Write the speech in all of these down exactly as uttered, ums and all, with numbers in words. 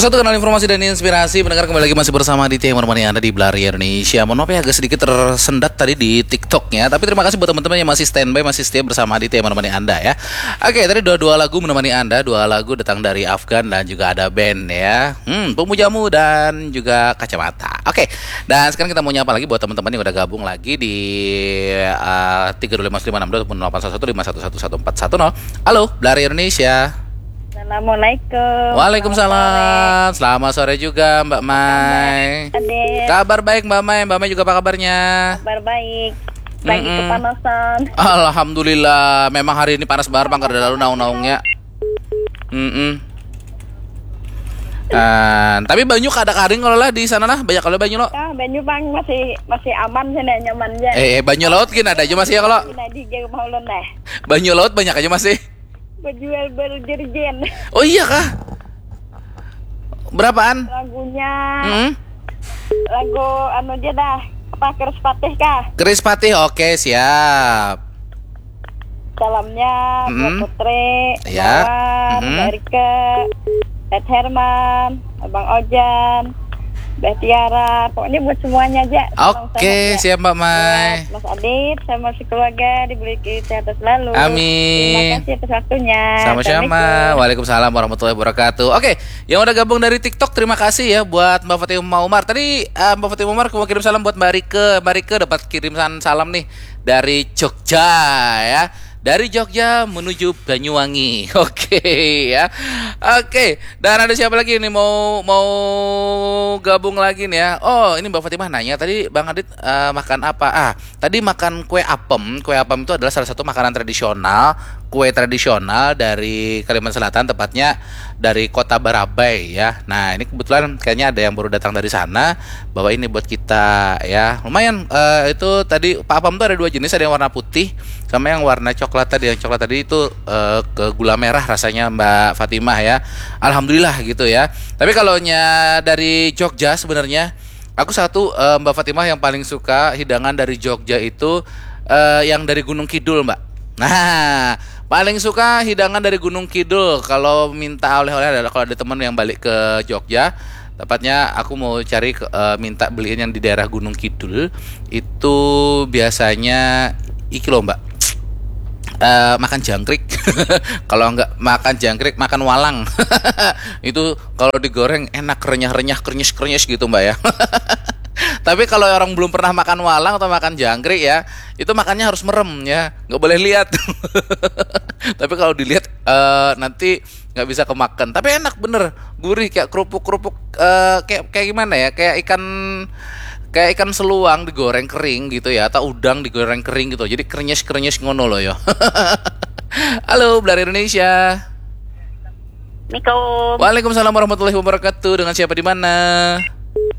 Satu kanal informasi dan inspirasi. Pendengar, kembali lagi masih bersama Aditya yang menemani Anda di Belari Indonesia. Mohon maaf ya, agak sedikit tersendat tadi di TikToknya. Tapi terima kasih buat teman-teman yang masih standby, masih setia bersama Aditya yang menemani Anda ya. Oke, tadi dua, dua lagu menemani Anda. Dua lagu datang dari Afgan dan juga ada band ya. Hmm, Pemujamu dan juga Kacamata. Oke, dan sekarang kita mau nyapa lagi buat teman-teman yang udah gabung lagi di uh, tiga dua lima lima enam dua ataupun delapan satu satu lima satu satu satu empat satu nol. Halo, Belari Indonesia. Assalamualaikum. Waalaikumsalam. Selamat sore juga, Mbak Mai. Adit. Kabar baik, Mbak Mai. Mbak Mai juga apa kabarnya? Kabar baik. Lagi Mm-mm. Kepanasan. Alhamdulillah, memang hari ini panas banget, Bang, kada lalu naung-naungnya. Mm-mm. Ah, tapi banyu kada karing kalau lah di sana lah, banyak kalau banyu lo. Ya, banyu, Bang, masih masih aman sini, nyaman aja. Eh, eh, banyu laut gini ada aja masih ya kalau. Ini di rumah ulun deh. Banyu laut banyak aja masih. Berjual berjerjen. Oh iya kah? Berapaan? Lagunya. Hmm? Lagu anu aja dah. Apa, Kerispatih kah? Kerispatih, oke, siap. Salamnya buat Mm-mm. Putri, Ya. Mawar, Mm-mm. Mbak Rike, Ed Herman, Abang Ojan, Mbak Tiara. Pokoknya buat semuanya aja. Salam Oke, sehat. Siap, Mbak Mai. Buat Mas Adit sama sekeluarga diberi kesehatan selalu. Amin. Terima kasih atas waktunya. Sama-sama. Assalamualaikum. Waalaikumsalam warahmatullahi wabarakatuh. Oke, yang udah gabung dari TikTok, terima kasih ya buat Mbak Fatimah Umar. Tadi eh, Mbak Fatimah Umar mau kirim salam buat Mbak Rike. Mbak Rike dapat kiriman salam nih dari Jogja ya. Dari Jogja menuju Banyuwangi. Oke ya. Oke, dan ada siapa lagi nih mau mau gabung lagi nih ya? Oh, ini Mbak Fatimah nanya tadi, Bang Adit, eh, makan apa? Ah, tadi makan kue apem. Kue apem itu adalah salah satu makanan tradisional, kue tradisional dari Kalimantan Selatan, tepatnya dari Kota Barabai ya. Nah, ini kebetulan kayaknya ada yang baru datang dari sana, bawa ini buat kita ya. Lumayan, eh, itu tadi Pak Apam tuh ada dua jenis, ada yang warna putih sama yang warna coklat tadi. Yang coklat tadi itu eh, ke gula merah rasanya, Mbak Fatimah ya. Alhamdulillah gitu ya. Tapi kalau nya dari Jogja sebenarnya, aku satu, eh, Mbak Fatimah, yang paling suka hidangan dari Jogja itu eh, yang dari Gunung Kidul, Mbak. Nah, paling suka hidangan dari Gunung Kidul. Kalau minta oleh-oleh, adalah kalau ada teman yang balik ke Jogja, tepatnya aku mau cari ke, eh, minta beliin yang di daerah Gunung Kidul itu biasanya iki loh, Mbak. Eh, makan jangkrik. Kalau nggak makan jangkrik, makan walang. Itu kalau digoreng enak, renyah-renyah, krenyes-krenyes gitu, Mbak ya. Tapi kalau orang belum pernah makan walang atau makan jangkrik ya, itu makannya harus merem ya, nggak boleh lihat. Tapi kalau dilihat eh, nanti nggak bisa kemakan. Tapi enak bener, gurih kayak kerupuk-kerupuk, eh, kayak kayak gimana ya? Kayak ikan kayak ikan seluang digoreng kering gitu ya, atau udang digoreng kering gitu. Jadi krenyes-krenyes ngono loh ya. Halo, Belari Indonesia. Assalamualaikum. Waalaikumsalam warahmatullahi wabarakatuh. Dengan siapa di mana?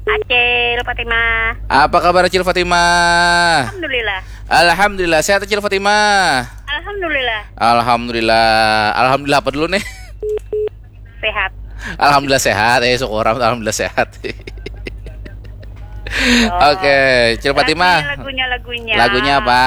Acil Fatimah. Apa kabar Acil Fatimah? Alhamdulillah. Alhamdulillah. Sehat Acil Fatimah? Alhamdulillah. Alhamdulillah. Alhamdulillah apa dulu nih? Sehat. Alhamdulillah sehat. Eh, syukur, alhamdulillah sehat. Oh. Oke, Acil Fatimah. Lagunya, lagunya, lagunya. Lagunya apa?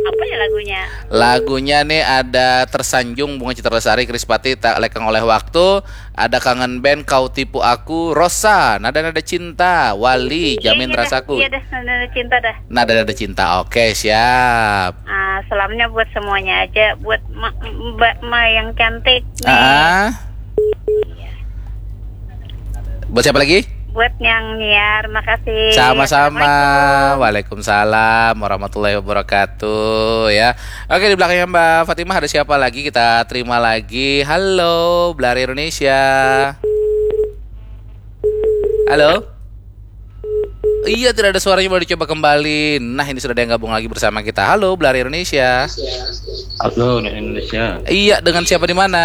Apa ya lagunya? Lagunya nih ada Tersanjung, Bunga Citra Lestari, Kerispatih, Tak Lekang Oleh Waktu, ada Kangen Band, Kau Tipu Aku, Rosa, Nada-Nada Cinta, Wali, Jamin Iya, iya dah. Rasaku. Iya dah, Nada-Nada Cinta dah. Nada-Nada Cinta. Oke, siap. Ah, salamnya buat semuanya aja, buat ma- Mbak Ma yang cantik nih. Ah. Buat siapa lagi? Buat yang nyiar, makasih. Sama-sama. Assalamualaikum. Waalaikumsalam warahmatullahi wabarakatuh ya. Oke, di belakangnya Mbak Fatimah ada siapa lagi? Kita terima lagi. Halo, Belari Indonesia. Halo. Iya, tidak ada suaranya, boleh dicoba kembali. Nah, ini sudah ada yang gabung lagi bersama kita. Halo, Belari Indonesia. Halo, Indonesia. Iya, dengan siapa di mana?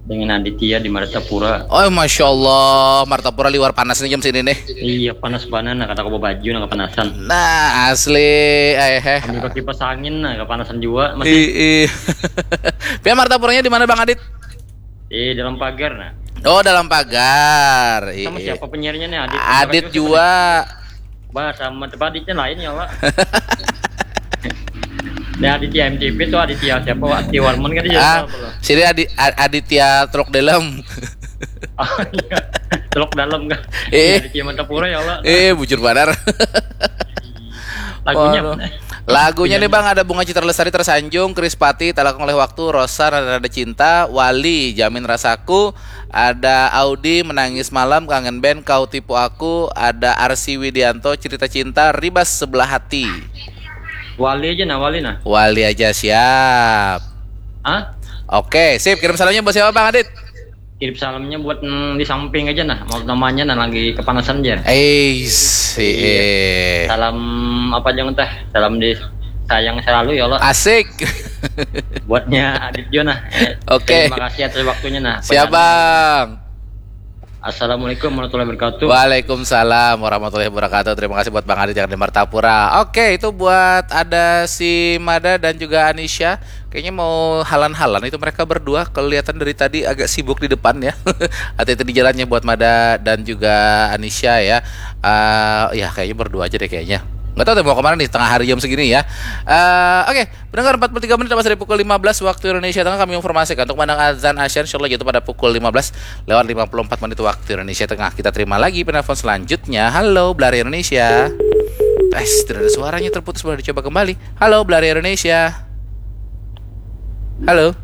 Dengan Aditya di Martapura. Oh, masya Allah, Martapura liwar panas nih jam sini nih. Iya, panas banget, nah, kata aku baju, nah, kepanasan. Nah, asli, eh, eh. Ambil pakai kipas angin, nah, kepanasan juga masih. Ih, ih. Pihak Martapuranya di mana, Bang Adit? Di dalam pagar, nah. Oh, dalam pagar. Sama ih, siapa penyiarnya nih, Adit? Adit juga. Bah, sama tempat Aditnya lain ya, Pak. Ini Aditya M T V tuh, Aditya siapa, Pak? Aditya Warman kan dia. Ah, siapa, loh? Sini Adi- A- Aditya truk dalam. Oh iya. Teluk Dalam kah? Eh. Iya, di Ciaman Tapura ya Allah. Eh, bujur banar. Lagunya. Waduh. Lagunya nih, Bang, ada Bunga Citra Lestari, Tersanjung, Krispati, Talakung Oleh Waktu, Rosa, Nada-Nada Cinta, Wali, Jamin Rasaku, ada Audi, Menangis Malam, Kangen Band, Kau Tipu Aku, ada Arsi Widianto, Cerita Cinta, Ribas Sebelah Hati. Wali aja nah, Wali nah. Wali aja, siap. Hah? Oke, sip. Kirim salamnya buat siapa, Bang Adit? Kirim salamnya buat, mm, di samping aja nah, mau namanya nah lagi kepanasan aja. Eh, si eh. Salam apa jangan teh? Salam di sayang selalu ya Allah. Asik. Buatnya Adit juga nah. Eh, Oke. Terima kasih atas waktunya nah. Siap, Bang. Assalamualaikum warahmatullahi wabarakatuh. Waalaikumsalam warahmatullahi wabarakatuh. Terima kasih buat Bang Adit yang di Martapura. Oke, itu buat ada si Mada dan juga Anisha. Kayaknya mau halan-halan itu mereka berdua. Kelihatan dari tadi agak sibuk di depan ya. Hati-hati di jalannya buat Mada dan juga Anisha ya. Eh, ya kayaknya berdua aja deh kayaknya. Nggak tahu deh mau kemana nih tengah hari jam segini ya. Eh, oke, pendengar, empat puluh tiga menit lepas dari pukul lima belas waktu Indonesia Tengah, kami informasikan untuk mandang azan Asyar insyaallah jatuh pada pukul lima belas lewat lima puluh empat menit waktu Indonesia Tengah. Kita terima lagi penelpon selanjutnya. Halo, Belari Indonesia. Eh, tidak ada suaranya, terputus, boleh dicoba kembali. Halo, Belari Indonesia. Halo.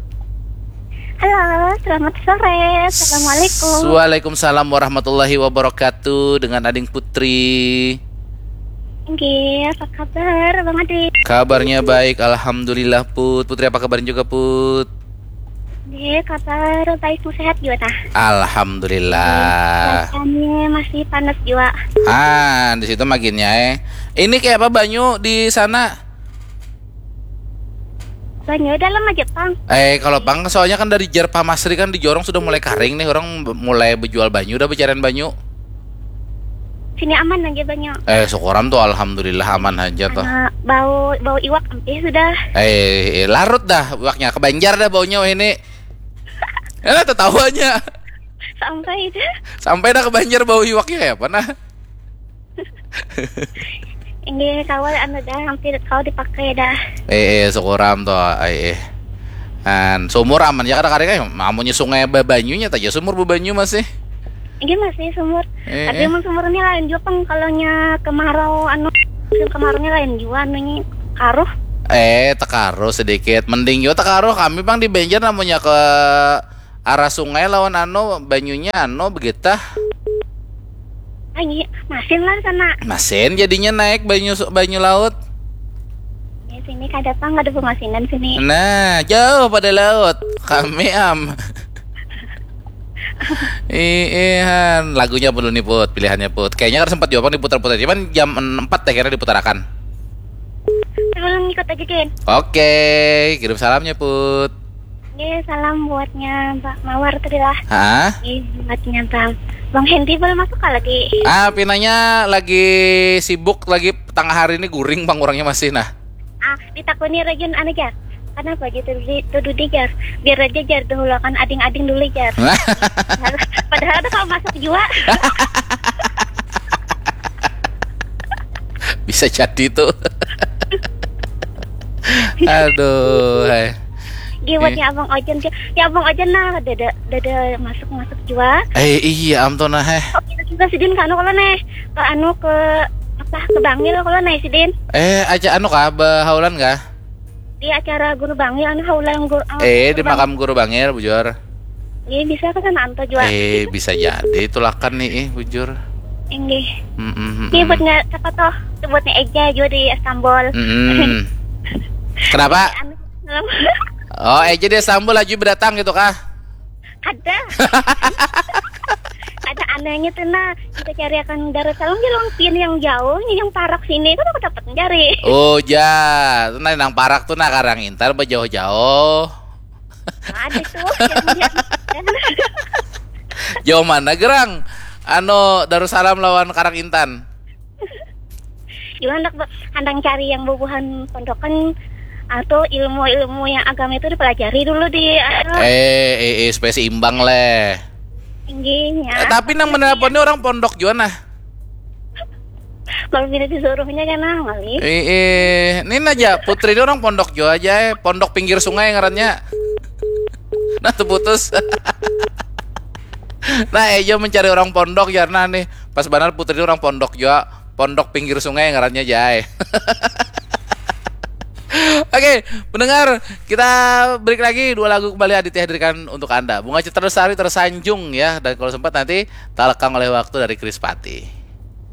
Halo, selamat sore. Assalamualaikum. Waalaikumsalam warahmatullahi wabarakatuh. Dengan Ading Putri. Nggih, apa kabar, Bang Adi? Kabarnya baik, alhamdulillah, Put. Putri, apa kabarnya juga, Put? Nggih, kabar baik, sehat juga tah. Alhamdulillah. Cuacanya masih panas juga. Ah, di situ maginnya eh. Ini kayak apa banyu di sana? Banyu dalam aja, Pang. Eh, kalau pang soalnya kan dari jar pamasri kan di jorong sudah mulai karing nih, orang be- mulai berjual banyu, udah pencarian banyu. Sini aman aja banyu. Eh, syukuran tuh, alhamdulillah aman aja tuh. Karena bau bau iwak empih sudah. Eh, eh, larut dah iwaknya, ke Banjar dah baunya weh ini. Eh, tetawanya. Sampai itu. Sampai dah ke Banjar bau iwaknya kayak apa nah? Ini kawal anu dah hampir kau dipakai dah. Eh, eh, syukuran tuh, eh, eh. Kan sumur aman ya kada karing, eh, amunnya sungai babanyunya taja sumur babanyu masih. Ini masih sumur. Eh, Tapi eh. Emang sumurnya lain juga, Pang. Kalau nya kemarau anu musim kemaraunya lain juga anunya karuh. Eh, tekaruh sedikit. Mending juga tekaruh, kami pang di Banjar namanya ke arah sungai lawan anu banyunya anu begetah. Ah, iya, masin lah sana. Masin jadinya naik banyu banyu laut. Ya, sini kada, Pang, ada pemasinan sini. Nah, jauh pada laut. Kami am. Iihan, lagunya apa dulu nih, Put? Pilihannya, Put. Kayaknya kan sempat juga diputar-putar. Cuman jam empat teh kira diputarakan. Sebelum ikut aja, Din. Oke, kirim salamnya, Put. Oke, salam buatnya Mbak Mawar tadi lah. Hah? Oke, buatnya Bang Bang Hendy belum masuk kah lagi? Ah, pinanya lagi sibuk lagi tengah hari ini guring pang orangnya masih nah. Ah, ditakuni Rajun anu jar. Kenapa aja tuh di tuh dudi jar? Biar aja jar dahuluakan ading-ading dulu jar. Padahal, padahal tuh kalau masuk juga. Bisa jadi tuh. Aduh, hai. Gih, buatnya Abang Ojan sih. Ya Abang Ojan nah, dada dada masuk masuk juga. Eh iya am tuh nah eh. Oh, kita juga sidin ke anu kalau nih, ke anu ke apa ke Bangil kalau nih sidin. Eh aja anu kah bahaulan kah? Di acara Guru Bangil anu haulan guru. Eh di makam Guru Bangil bujur. Iya bisa ke sana anto juga. Eh bisa jadi tulakan nih eh bujur. Inggih. Mm-mm, Ini mm-mm. buatnya siapa toh? Itu buatnya Eja juga di Istanbul. Mm-mm. Kenapa? Anu, Oh, eh jadi Istanbul lagi berdatang gitu kah? Ada. Ada anehnya tuh nah. Kita cari akan Darussalam di Longpin yang jauh, yang parak sini kan aku dapat mencari. Oh, ja. Nah, nang parak tuh nah Karang Intan apa jauh-jauh? Ada tuh. Yang dia- Jauh mana gerang? Anu Darussalam lawan Karang Intan. Juga hendak be- handang cari yang bubuhan pondokan atau ilmu-ilmu yang agama itu dipelajari dulu di anu, Eh, eh, eh, supaya seimbang leh. tingginya. Eh, tapi nang menelpon ini orang pondok juga nah. Kalau bila disuruhnya kan nah ngalih. Eh, eh, ini aja Putri ini orang pondok juga aja, eh. Pondok pinggir sungai ngarannya. Nah, tuh putus. Nah, Ejo mencari orang pondok jarna nih. Pas banar Putri orang pondok jua. Pondok pinggir sungai ngarannya, Jai. Oke, pendengar, kita break lagi, dua lagu kembali Aditya hadirkan untuk Anda. Bunga Citra Lestari, Tersanjung ya, dan kalau sempat nanti Talekang oleh Waktu dari Krispatih.